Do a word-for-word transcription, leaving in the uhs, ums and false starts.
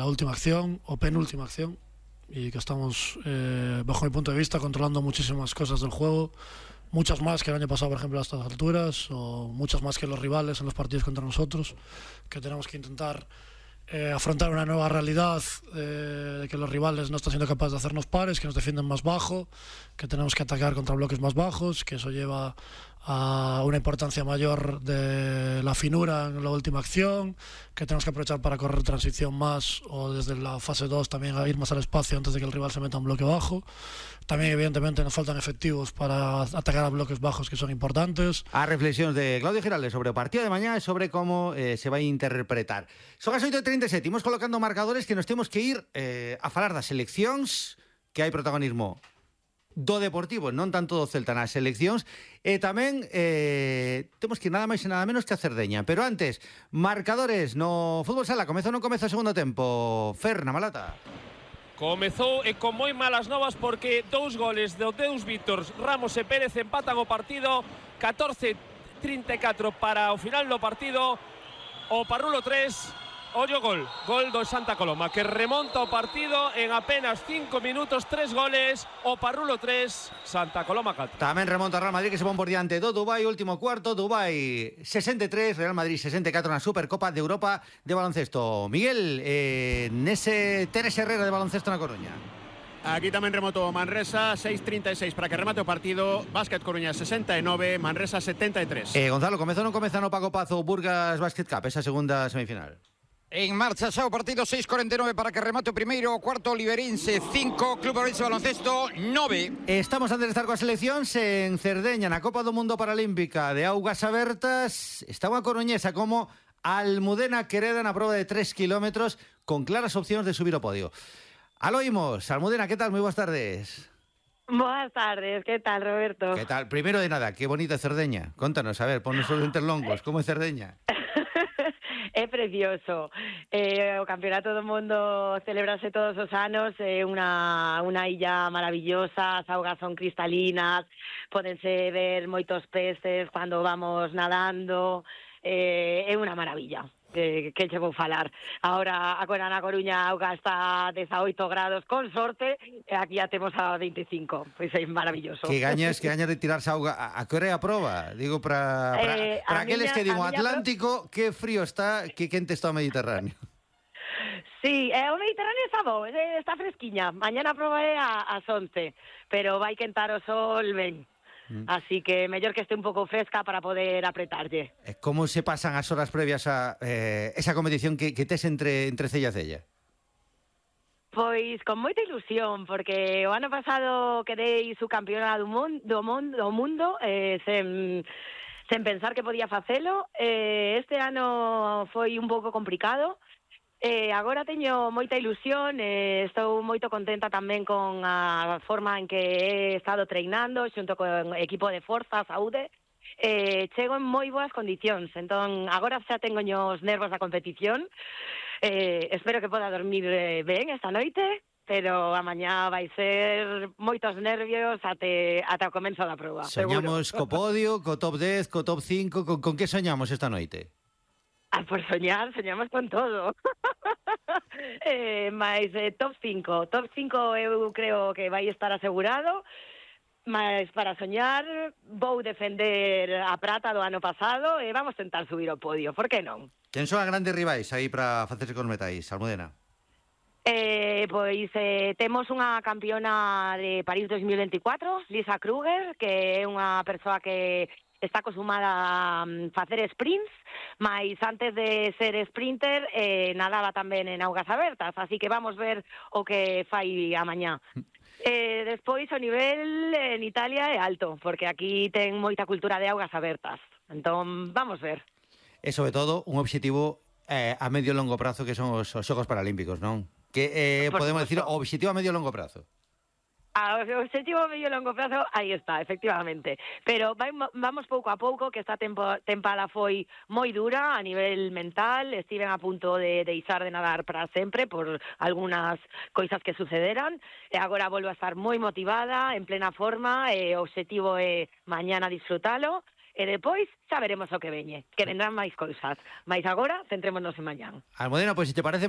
la última acción o penúltima acción y que estamos, eh, bajo mi punto de vista, controlando muchísimas cosas del juego, muchas más que el año pasado, por ejemplo, a estas alturas, o muchas más que los rivales en los partidos contra nosotros, que tenemos que intentar eh, afrontar una nueva realidad eh, de que los rivales no están siendo capaces de hacernos pares, que nos defienden más bajo, que tenemos que atacar contra bloques más bajos, que eso lleva a una importancia mayor de la finura en la última acción, que tenemos que aprovechar para correr transición más o desde la fase dos también a ir más al espacio antes de que el rival se meta en bloque bajo. También evidentemente nos faltan efectivos para atacar a bloques bajos que son importantes. A reflexións de Claudio Giraldes sobre o partido de mañá e sobre como eh, se vai interpretar. Son as oito e trinta e sete, imos colocando marcadores que nos temos que ir eh, a falar das seleccións, que hai protagonismo do Deportivo, non tanto do Celta nas seleccións, e tamén eh, temos que ir nada máis e nada menos que a Cerdeña. Pero antes, marcadores no fútbol sala, comeza ou non comeza o segundo tempo? Fer, na Malata. Comezou e con moi malas novas porque dous goles de Deus Víctor, Ramos e Pérez empatan o partido. Catorce trinta e catro para o final do partido. O Parrulo tres, ollo gol, gol do Santa Coloma, que remonta o partido en apenas cinco minutos, tres goles. O Parrulo tres, Santa Coloma catro. Tamén remonta Real Madrid, que se pon por diante do Dubai, último cuarto, Dubai sesenta e tres, Real Madrid sesenta e catro na Supercopa de Europa de baloncesto. Miguel, eh, nese Teres Herrera de baloncesto na Coruña. Aquí tamén remoto Manresa, seis trinta e seis para que remate o partido. Básquet Coruña sesenta e nove, Manresa setenta e tres. Eh, Gonzalo, comeza ou non comeza no Paco Pazo Burgas Basket Cup, esa segunda semifinal? En marcha xa o partido, seis cuarenta e nove para que remate o primeiro, o cuarto Oliveirense cinco, Club Ourense Baloncesto nove. Estamos antes de estar coas seleccións en Cerdeña, na Copa do Mundo Paralímpica de Augas Abertas. Está unha coruñesa como Almudena Quereda na proba de tres kilómetros con claras opcións de subir ao podio. Aló imos, Almudena, que tal? Moi boas tardes. Boas tardes, que tal, Roberto? Que tal? Primeiro de nada, que bonita Cerdeña. Contanos, a ver, ponnos os lentes longos, como é Cerdeña? É precioso. Eh, o Campeonato do Mundo celebrase todos os anos, é eh, unha, unha illa maravillosa, as augas son cristalinas, pódense ver moitos peces cando vamos nadando, eh, é unha maravilla. Que, que che vou falar. Ahora, agora na Coruña a auga está a dezaoito grados con sorte, e aquí ya temos a veinticinco. Pois é maravilloso. Que gañas, que gañas de tirarse a auga. A, a que hora é a proba? Digo, para para, eh, para aqueles miña, que digo Atlántico, pro... que frío está, que quente está o Mediterráneo. Sí, eh, o Mediterráneo está bo, eh, está fresquiña. Mañana a proba é a, as once, pero vai quentar o sol ben. Así que mellor que este un pouco fresca para poder apretarlle. Como se pasan as horas previas a eh, esa competición que, que tes entre, entre cella e cella? Pois con moita ilusión, porque o ano pasado quedei subcampeona do mundo, do mundo, do mundo eh, sen, sen pensar que podía facelo. Eh, este ano foi un pouco complicado. Eh, agora teño moita ilusión, eh, estou moito contenta tamén con a forma en que he estado treinando xunto con equipo de forza, saúde. Eh, chego en moi boas condicións, entón agora xa tengo os nervos da competición. Eh, espero que poda dormir ben esta noite, pero a mañá vai ser moitos nervios até, até o comenzo da proba. Soñamos seguro. co podio, co top dez, co top cinco, con, con que soñamos esta noite? Ah, por soñar, soñamos con todo. eh, mais eh, top cinco. Top cinco eu creo que vai estar asegurado. Mas para soñar vou defender a prata do ano pasado e vamos tentar subir ao podio, por que non? Quen son as grandes rivais aí para facerse con os metais, Almudena? Eh, pois eh, temos unha campeona de París dos mil veinticuatro, Lisa Kruger, que é unha persoa que está acostumada a facer sprints, mas antes de ser sprinter eh, nadaba tamén en augas abertas, así que vamos ver o que fai a mañá. Eh, despois o nivel en Italia é alto, porque aquí ten moita cultura de augas abertas, entón vamos ver. E sobre todo un obxectivo eh, a medio e longo prazo, que son os, os Xogos Paralímpicos, non? Que eh, podemos decir o obxectivo a medio e longo prazo. A objetivo a medio e longo prazo, aí está, efectivamente. Pero vai, vamos pouco a pouco, que esta tempo, tempada foi moi dura a nivel mental, estiven a punto de deixar de nadar para sempre por algunhas coisas que sucederan, e agora volvo a estar moi motivada, en plena forma, e o objetivo é mañana disfrutalo, e depois xa veremos o que veñe, que vendrán máis cousas. Mais agora, centrémonos en mañán. Almudena, pois, pues, se te parece